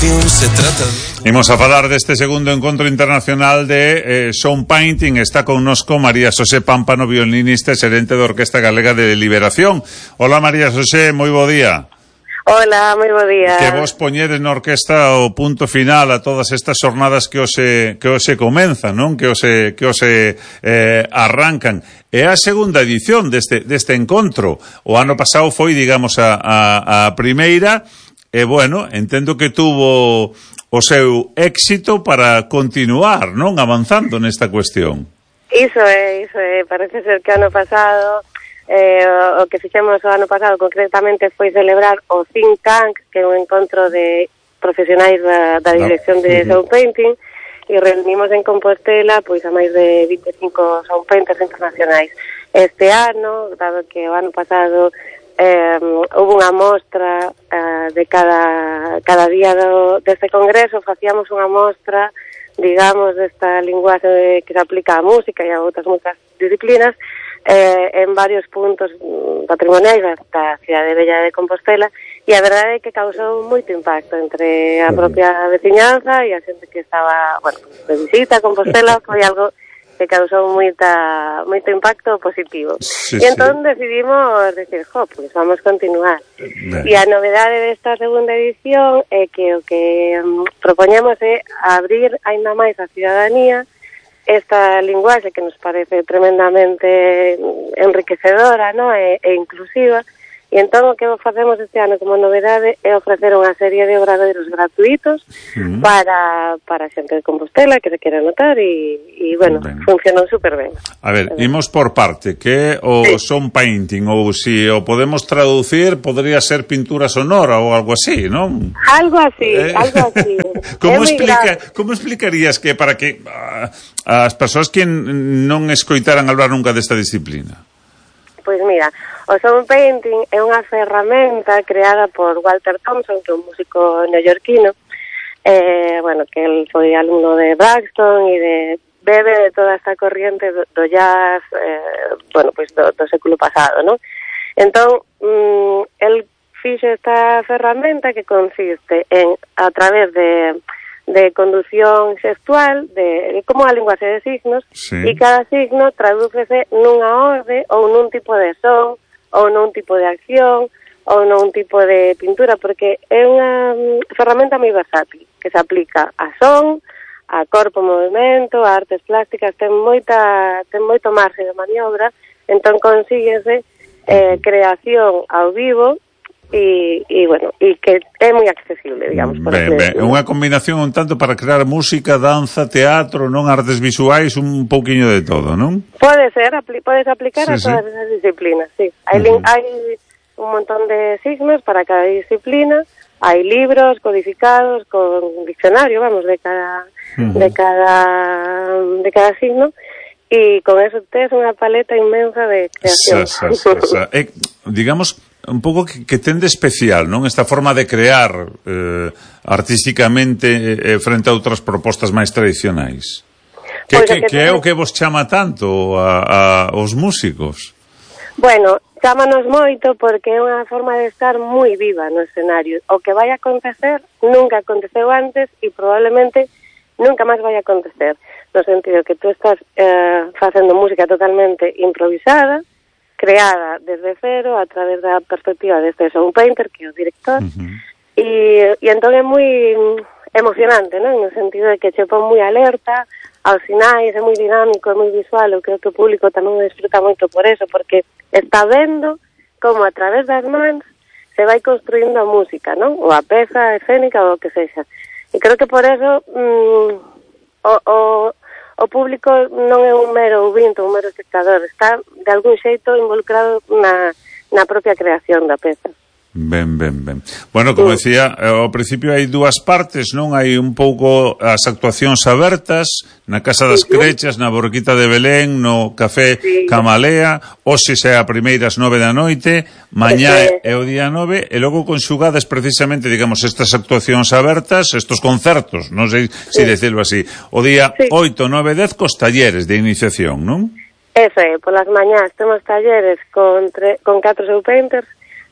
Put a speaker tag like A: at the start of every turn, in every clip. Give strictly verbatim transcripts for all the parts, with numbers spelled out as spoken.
A: canción se trata de...
B: Imos a falar deste segundo encontro internacional de eh, Sound Painting. Está connosco María Xosé Pámpano, violinista e xerente da Orquesta Galega de Liberación. Hola María Xosé, moi bo día.
C: Hola, moi bo día.
B: Que vos poñedes na orquesta o punto final a todas estas jornadas que hoxe que hoxe comenzan, non? Que hoxe que hoxe eh, arrancan. É a segunda edición deste deste encontro. O ano pasado foi, digamos, a a, a primeira. E bueno, entendo que tuvo o seu éxito para continuar, non? Avanzando nesta cuestión.
C: Iso é, iso é. Parece ser que ano pasado, eh, o que fixemos o ano pasado concretamente foi celebrar o Think Tank, que é un encontro de profesionais da, da dirección de Sound Painting, e reunimos en Compostela pois a máis de vinte e cinco Sound Painters internacionais. Este ano, dado que o ano pasado Eh, houve unha mostra eh, de cada, cada día do, deste congreso, facíamos unha mostra, digamos, desta linguaxe que se aplica á música e a outras moitas disciplinas eh, en varios puntos patrimoniais da cidade bella de Compostela, e a verdade é que causou moito impacto entre a propia veciñanza e a xente que estaba, bueno, de visita a Compostela. Foi algo que causou moita, moito impacto positivo.
B: Sí,
C: e entón sí. decidimos decir, jo, pues vamos continuar. Ben. E a novedade desta segunda edición é que o que um, propoñemos é abrir aínda máis a cidadanía esta linguaxe que nos parece tremendamente enriquecedora, ¿no? e, e inclusiva. E entón o que facemos este ano como novedade é ofrecer unha serie de obradoiros gratuitos uh-huh. para, para a xente de Compostela que se quere anotar e, e bueno, ben. funcionou super ben.
B: A ver, imos por parte, que o sí. Sound Painting, ou si o podemos traducir, podría ser pintura sonora ou algo así, non?
C: Algo así, eh? algo así.
B: como, explica, como explicarías que para que uh, as persoas que non escoitaran hablar nunca desta disciplina?
C: Pois mira, o Sound Painting é unha ferramenta creada por Walter Thompson, que é un músico neoyorquino, eh, bueno, que él foi alumno de Braxton e de bebe de toda esta corriente do, do jazz, eh, bueno, pois do, do século pasado, non? Entón, mm, él fixe esta ferramenta que consiste en, a través de... de conducción xestual, de, de como a linguaxe de signos, sí. e cada signo tradúcese nunha orde ou nun tipo de son, ou nun tipo de acción, ou nun tipo de pintura, porque é unha ferramenta moi versátil, que se aplica a son, a corpo movimento, a artes plásticas, ten moita ten moito marxe de maniobra, entón consíguese eh, creación ao vivo, e, e bueno, e que é moi accesible, digamos, por
B: ben, ben, unha combinación un tanto para crear música, danza, teatro, non, artes visuais, un pouquiño de todo, non?
C: Pode ser, apli- podes aplicar sí, a todas sí. esas disciplinas, sí. Hai, uh-huh. hai un montón de signos para cada disciplina, hai libros codificados con diccionario, vamos, de cada uh-huh. de cada de cada signo, e con eso tes unha paleta inmensa de creación.
B: Sa, sa, sa, sa. Eh, digamos un pouco que, que ten de especial, non? Esta forma de crear eh, artísticamente eh, frente a outras propostas máis tradicionais. Que, pues que, que, que é o que vos chama tanto a, a os músicos?
C: Bueno, chámanos moito porque é unha forma de estar moi viva no escenario. O que vai a acontecer nunca aconteceu antes e probablemente nunca máis vai a acontecer. No sentido que tú estás eh, facendo música totalmente improvisada, creada desde cero a través da perspectiva deste Sound Painter, que é o director, uh-huh. e, e entón é moi emocionante, non? No sentido de que che pon moi alerta aos sinais, é moi dinámico, é moi visual, eu creo que o público tamén o disfruta moito por eso, porque está vendo como a través das mans se vai construindo a música, non? Ou a peza escénica ou o que sexa. E creo que por eso mm, o, o o público non é un mero ouvinte, un mero espectador, está de algún xeito involucrado na, na propia creación da peza.
B: Ben, ben, ben. Bueno, como decía, ao principio hai dúas partes, non? Hai un pouco as actuacións abertas na Casa das Crechas, na Borquita de Belén, no Café sí. Camalea, hoxe é a primeira ás nove da noite, mañá sí. é o día nove, e logo conxugades precisamente, digamos, estas actuacións abertas, estos concertos, non sei se sí. decirlo así, o día sí. oito, nove, dez cos talleres de iniciación, non?
C: Eso é, polas mañás temos talleres con, tre- con catro Sound Painters,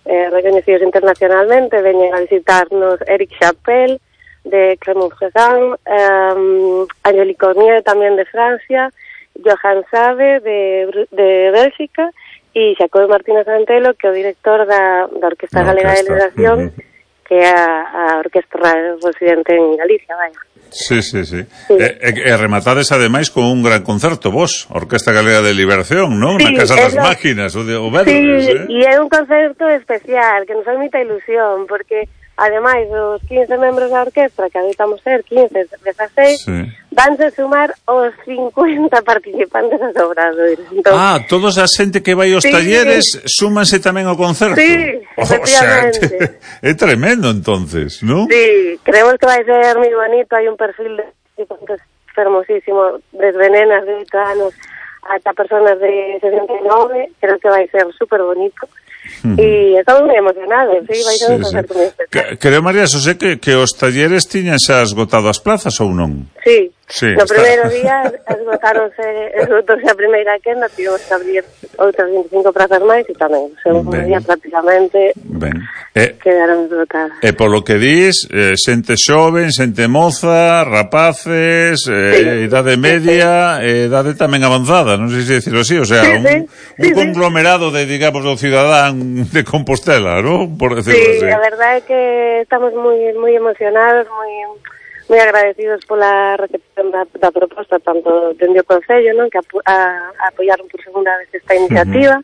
C: Eh, reconhecidos internacionalmente, veñen a visitarnos Eric Chappell, de Clermont-Ferrand, um, Angélique Cornier tamén de Francia, Johan Sabe de, de Bélxica e Xacob Martínez Antelo, que é o director da, da Orquesta Galega de Liberación, uh -huh. que é a, a orquestra residente en Galicia, vaya.
B: Sí, sí, sí. sí. E, e, e rematades ademais con un gran concerto, vos, Orquesta Galega de Liberación, non? Sí, na Casa das lo... Máquinas, o de o Verdes,
C: sí,
B: eh?
C: E é un concerto especial, que nos fai moita ilusión, porque ademais dos quince membros da orquestra, que habitamos ser quince, dezasseis, sí. vanse sumar os cincuenta participantes a Obradoiros. Entón,
B: ah, todos a xente que vai aos sí, talleres súmanse tamén ao concerto.
C: Sí, efectivamente.
B: O sea, é tremendo, entonces, ¿no?
C: Sí, creemos que vai ser moi bonito, hai un perfil de fermosísimo, desde nenas de oito anos ata personas de sesenta e nove, creo que vai ser super bonito. Uh-huh. E estamos moi emocionados, sí, vai ser sí, un concerto sí. moi especial.
B: Creo, María Xosé, que, que os talleres tiñan xa esgotado as plazas ou non?
C: Sí,
B: sí
C: no está... primeiro día esgotáronse, esgotóse a primeira quenda, tivemos que abrir outras vinte e cinco plazas máis e tamén, o segundo día prácticamente ben. Eh, quedaron esgotadas.
B: E polo que dis, eh, xente xoven, xente moza, rapaces, eh, sí. idade media, sí. idade tamén avanzada, non sei se dicirlo así, o sea, sí, un, sí. un sí, conglomerado sí. de, digamos, do cidadán de Compostela, ¿no? Por decirlo
C: sí,
B: así.
C: Sí, a verdade é que estamos moi moi emocionados, moi moi agradecidos pola recepción da, da proposta, tanto dende o Concello, non, que a, a, a apoiaron por segunda vez esta iniciativa,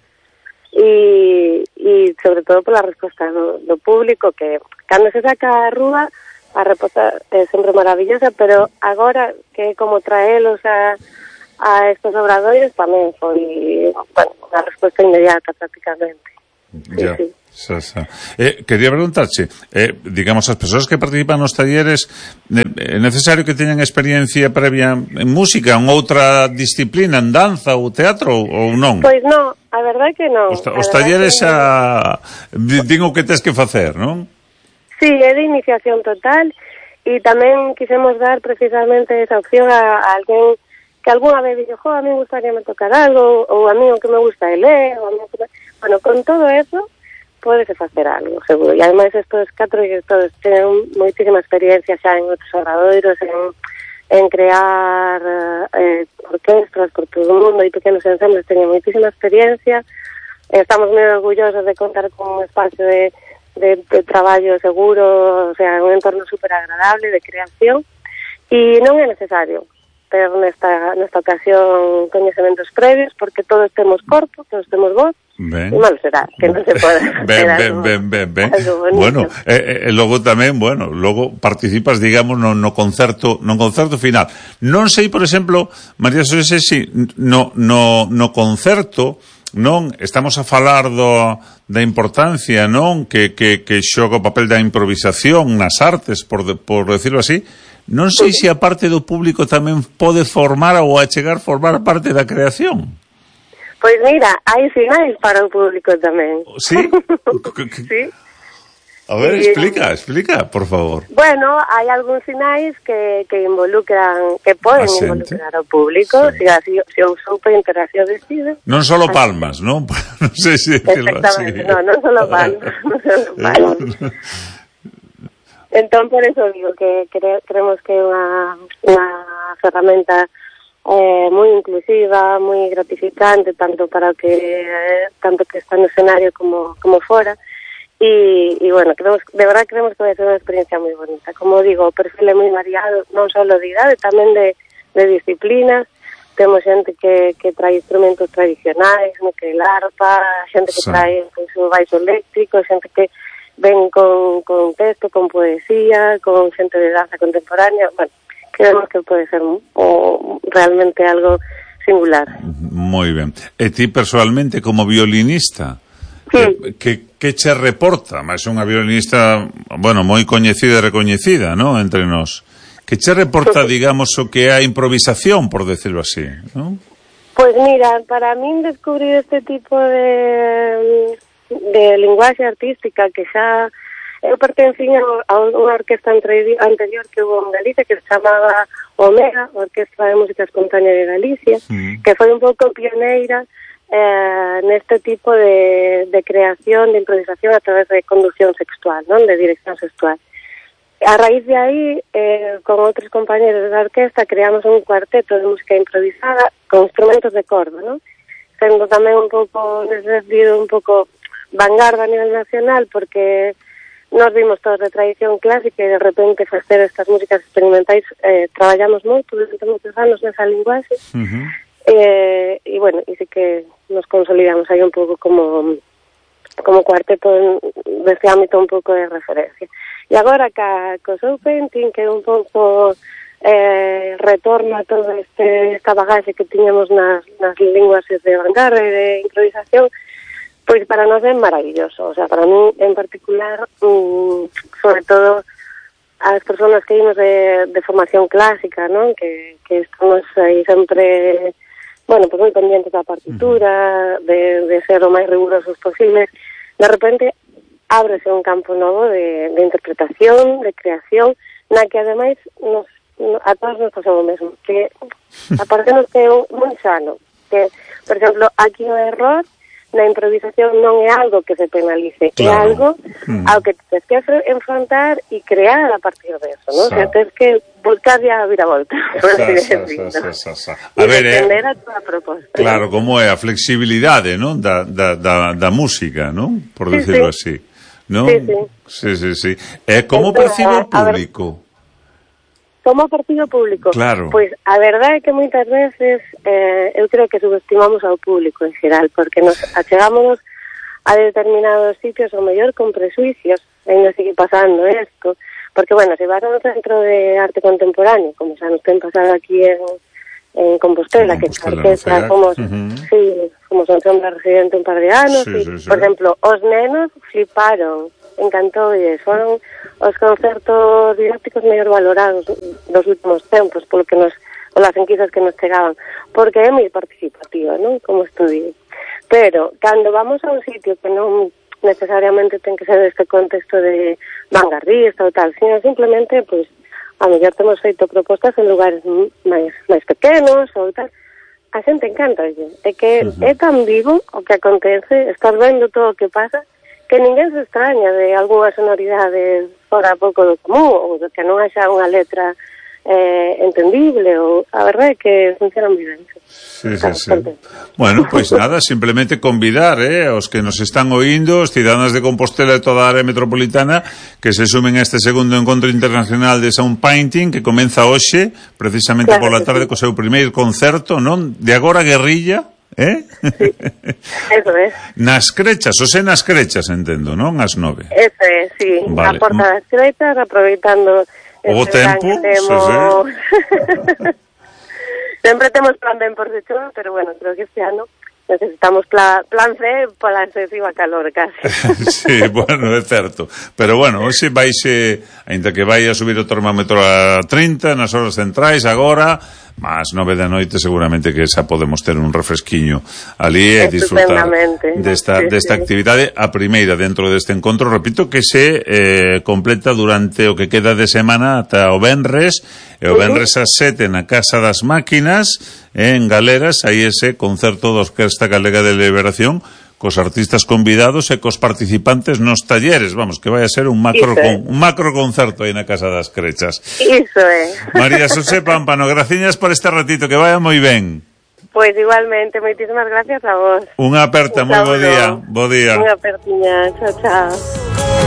C: e, e sobre todo pola resposta do, do público, que cando se saca a rúa, a resposta é sempre maravillosa, pero agora que como traelos a, a estos obradoiros tamén foi, bueno, unha resposta inmediata prácticamente.
B: Ya.
C: Sí, sí.
B: Xa, xa. Eh, quería preguntarche, eh, digamos, as persoas que participan nos talleres, eh, é necesario que teñan experiencia previa en música, en outra disciplina, en danza ou teatro, ou non?
C: Pois non, a verdade que non.
B: Os, ta os talleres que... a... digo que tes que facer, non?
C: Sí, é de iniciación total, e tamén quisemos dar precisamente esa opción a, a alguén que algunha vez dixo, jo, a mí gustaría me tocar algo, ou a mí o que me gusta é ler, ou a mí o que me... Bueno, con todo eso pódese facer algo, seguro. E ademais estos catro directores teñen moitísima experiencia xa en outros obradoiros, en, en crear eh, orquestras por todo o mundo e pequenos ensembles, teñen moitísima experiencia. Estamos moi orgullosos de contar con un espacio de, de, de traballo seguro, o sea, un entorno super agradable de creación, e non é necesario ter nesta, nesta ocasión coñecementos previos, porque todos temos corpo, todos temos voz, ben. E mal será, que non se pode
B: ben, ben, ben, ben, ben. Bueno, e eh, eh, logo tamén, bueno, logo participas, digamos, no, no concerto no concerto final. Non sei, por exemplo, María Xosé, si no, no, no concerto, non, estamos a falar do, da importancia, non, que, que, que xoga o papel da improvisación nas artes, por, de, por decirlo así. Non sei se a parte do público tamén pode formar ou achegar formar parte da creación.
C: Pois mira, hai sinais para o público tamén.
B: Sí?
C: Sí.
B: A ver, explica, explica, por favor.
C: Bueno, hai algúns sinais que, que involucran, que poden involucrar ao público, sí. se, se o super interacción decide.
B: Non solo palmas, non? Non sei se decirlo así.
C: Exactamente, non, non solo palmas, non solo palmas. Entón, por eso digo que cre creemos que é unha, unha ferramenta eh, moi inclusiva, moi gratificante, tanto para que eh, tanto que está no escenario como, como fora. E, e bueno, creemos, de verdad creemos que vai ser unha experiencia moi bonita. Como digo, o perfil é moi variado, non só de idade, tamén de, de disciplinas. Temos xente que, que trae instrumentos tradicionais, no que el arpa, xente que trae pois, o baixo eléctrico, xente que ven con, con texto, con poesía, con xente de danza contemporánea. Bueno, creemos que pode ser o, realmente algo singular.
B: Moi ben. E ti, personalmente, como violinista, sí. que, que che reporta? Mas unha violinista, bueno, moi coñecida e recoñecida, ¿no?, entre nós. Que che reporta, digamos, o que é a improvisación, por decirlo así, ¿no?
C: Pois mira, para min descubrir este tipo de... de linguaxe artística que xa eu pertencín a unha orquesta anterior que hubo en Galicia que se chamaba Omega, Orquestra de Música Espontánea de Galicia, mm. que foi un pouco pioneira eh, neste tipo de, de creación, de improvisación a través de conducción sexual, non, de dirección sexual. a raíz de aí, eh, con outros compañeros da orquesta, creamos un cuarteto de música improvisada con instrumentos de corda, non? Sendo tamén un pouco, nese sentido, un pouco vanguarda a nivel nacional, porque nos vimos todos de tradición clásica e de repente facer estas músicas experimentais, eh, traballamos moito durante moitos anos nesa linguaxe, uh-huh. eh, e bueno, e sí que nos consolidamos aí un pouco como como cuarteto deste ámbito un pouco de referencia. E agora ca, co Soul Painting, que é un pouco eh, retorno a toda este, esta bagaxe que tiñamos nas, nas linguaxes de vanguarda e de improvisación, pois para nós é maravilloso. O sea, para mí en particular, um, sobre todo as persoas que vimos de, de formación clásica, non? Que, que estamos aí sempre, bueno, pues moi pendientes da partitura, de, de ser o máis rigurosos posibles. De repente ábrese un campo novo de, de interpretación, de creación, na que ademais nos, a todos nos pasou o mesmo, que aparte nos que é moi sano, que, por exemplo, aquí o error na improvisación non é algo que se penalice, claro. É algo mm. ao que tens que enfrontar e crear a partir de eso, ¿no? O sea, tens que buscar ya a viravolta, por así decirlo.
B: A ver,
C: eh, a tua proposta.
B: Claro, como é a flexibilidade, ¿no? Da, da, da, da música, ¿no? Por sí, decirlo sí. así, ¿no?
C: Sí, sí.
B: Sí, sí, sí. Eh, como percibe o público?
C: Como partido público?
B: Claro.
C: Pois a verdade é que moitas veces eh, eu creo que subestimamos ao público en xeral, porque nos achegámonos a determinados sitios o mellor con presuicios, ainda sigue pasando isto, porque, bueno, se vas a un centro de arte contemporáneo, como xa nos ten pasado aquí en, en Compostela, que a orquesta somos, uh-huh. sí, somos un sombra residente un par de anos, sí, e, sí, sí. Por exemplo, os nenos fliparon, encantoulle, foron os concertos didácticos mellor valorados dos últimos tempos, polo que nos, polas enquisas que nos chegaban, porque é moi participativa, non? Como estudio. Pero, cando vamos a un sitio que non necesariamente ten que ser este contexto de vanguardista ou tal, sino simplemente, pois, a mellor temos feito propostas en lugares máis, máis pequenos ou tal, a xente encanta, oye. É que uh-huh. é tan vivo o que acontece, estás vendo todo o que pasa, que ninguén se extraña de algunha sonoridade fora pouco do común, ou de que non haxa unha letra eh, entendible, ou a verdade é que funciona moi ben.
B: Sí, sí, sí. Bueno, pois pues nada, simplemente convidar eh, aos que nos están oindo, os cidadáns de Compostela e toda a área metropolitana, que se sumen a este segundo encontro internacional de Sound Painting, que comeza hoxe, precisamente claro, pola tarde, sí. Co seu primeiro concerto, non? De agora guerrilla, eh?
C: Sí, eso é.
B: Nas Crechas, o sea, nas Crechas, entendo, non? As nove.
C: Eso é, sí. Vale. A Porta das Crechas, aproveitando
B: o tempo,
C: temos... sí, sí. Sempre temos plan ben por detrás, pero bueno, creo que este ano necesitamos plan, plan C pola excesiva calor, casi.
B: Sí, bueno, é certo. Pero bueno, hoxe vaise, ainda que vai a subir o termómetro a trinta nas horas centrais agora, mas nove da noite seguramente que xa podemos ter un refresquiño ali e disfrutar desta, sí, desta sí. actividade, a primeira dentro deste encontro, repito, que se eh, completa durante o que queda de semana ata o venres, e o venres ás sete na Casa das Máquinas, en Galeras, aí ese concerto da Orquesta Galega de Liberación, cos artistas convidados e cos participantes nos talleres, vamos, que vai a ser un macro con, un macro concerto aí na Casa das Crechas.
C: Iso é.
B: María Xosé Pámpano, graciñas por este ratito, que vaya moi ben.
C: Pois igualmente, moitísimas gracias a vos.
B: Unha aperta, moi bo día. Bo día.
C: Unha apertiña, chao, chao.